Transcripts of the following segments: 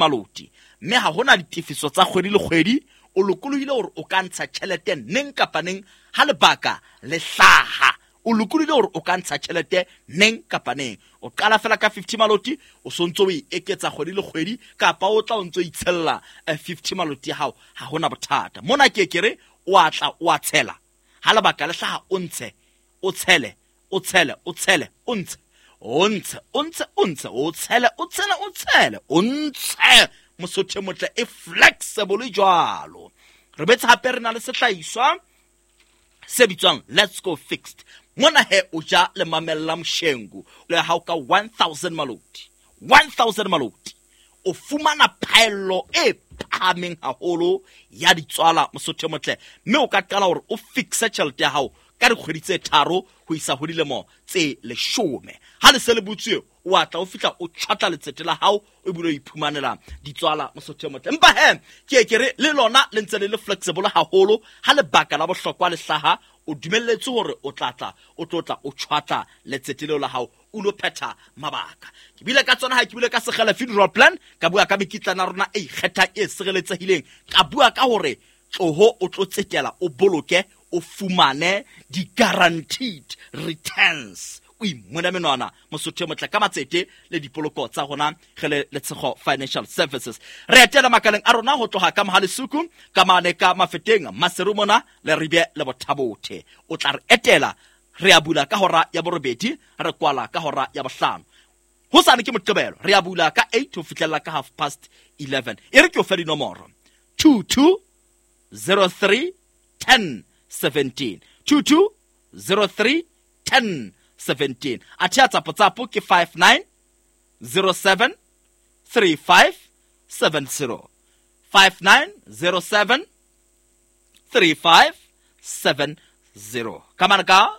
Maloti, mme ha hona ditefiso tsa kgwedi le kgwedi. O lokolohile hore o ka ntsha tjhelete neng kapa neng ha lebaka le hlaha. O lokolohile hore o ka ntsha tjhelete neng kapa neng. O qala fela ka 50 maloti, o sontso o e eketsa kgwedi le kgwedi, kapa o tla o ntso itshella 50 maloti ya hao, ha hona bothata. Mona ke ke re o a tla o a tshela, ha lebaka le hlaha o ntshe, o tshele, o tshele, o tshele, o ntshe, o ntshe, o ntshe, o ntshe, o tshele, o tshele, o tshele, o ntshe. Mosotho e motle e flexible jwalo. Re betse hape re na le sehlahiswa se bitswang Let's Go Fixed. Mona he o ja le mamella moshengu le hao ka 1000 maloti, 1000 maloti o fumana phaello e phahameng haholo ya ditswala, mosotho e motle, mme o ka qala hore o fixe tjhelete ya hao ka dikgwedi tse 3 ho isa ho dilemo tse 10. Ha le se le butswe, o a tla o fihla o tjhwatla letsete la hao, o bile o iphumanela ditswala, mosotho e motle. Empa he ke ke re le lona le ntse le le flexible haholo. Ha lebaka la bohlokwa le hlaha, o dumelletswe hore o tla tla o tlo tla o tjhwatla letsete leo la hao, o lo phetha mabaka. Ke bile ka tsona ha ke bile ka Sekgele funeral plan, ka bua ka mekitlana ya rona e ikgethang e sireletsehileng, ka bua ka hore tloho o tlo tsetela, o boloke, o fumane di-guaranteed returns, o imona menwana, mosotho e motle, ka matsete le dipoloko tsa rona re le Letshego Financial Services. Re etela makaleng a rona ho tloha ka Mohalesuku, ka mane ka Mafeteng, Maseru mona le Ribe le Bothabothe. O tla re etela, re a bula ka hora ya 8, re kwala ka hora ya 5. Hosane ke Moqebelo, re a bula ka 8 ho fihlella ka 11:30. E re ke o fe dinomoro: 22 03 10 17, 22 03 10 17. Athe ya Tsapotsapo ke 59 07 35 70, 59 07 35 70. Ka mane ka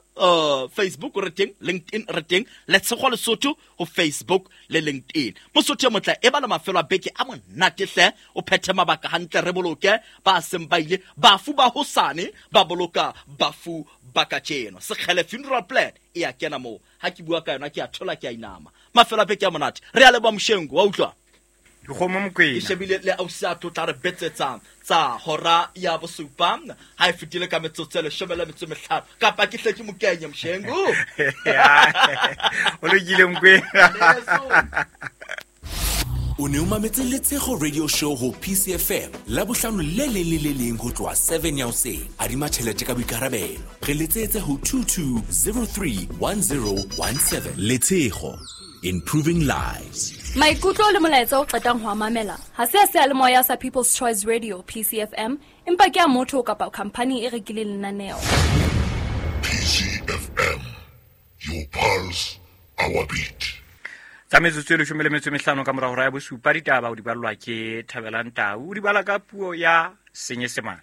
Facebook re teng, LinkedIn re teng, Letshego Lesotho ho Facebook le LinkedIn. Mosotho e motle, e ba le mafelo a beke a monate hle, o phethe mabaka hantle, re boloke ba seng ba ile, bafu ba hosane ba boloka bafu ba kajeno. Sekgele funeral plan e a kena moo. Ha ke bua ka yona ke a thola, ke a inama. Mafelo a beke a monate. Re a leboha Moshengu, wa utlwa? Dikgomo Mokwena. Ke shebile le ausi a tlo tla re betsetsa tsa hora ya 7 ha e fetile ka metsotso e 15, kapa ke hle ke mokenye Moshengu. O lokile Mokwena. O ne o mametse Letshego Radio Show ho PCFM la bohlano le leng le le leng ho tloha 7 ya hoseng. Adima tjhelete ka boikarabelo. Re letsetse ho 22031017. Letshego, improving lives. Maikutlo le molaetsa o qetang ho a mamela ha se a seyalemoya sa People's Choice Radio PCFM, empa ke a motho kapa khampani e rekileng lenaneo. PCFM, your pulse, our beat. Tsa metsotso e 15 ka mora hora ya 7, ditaba o di ballwa ke Thabelang Tau, o di bala ka puo ya Senyesemane.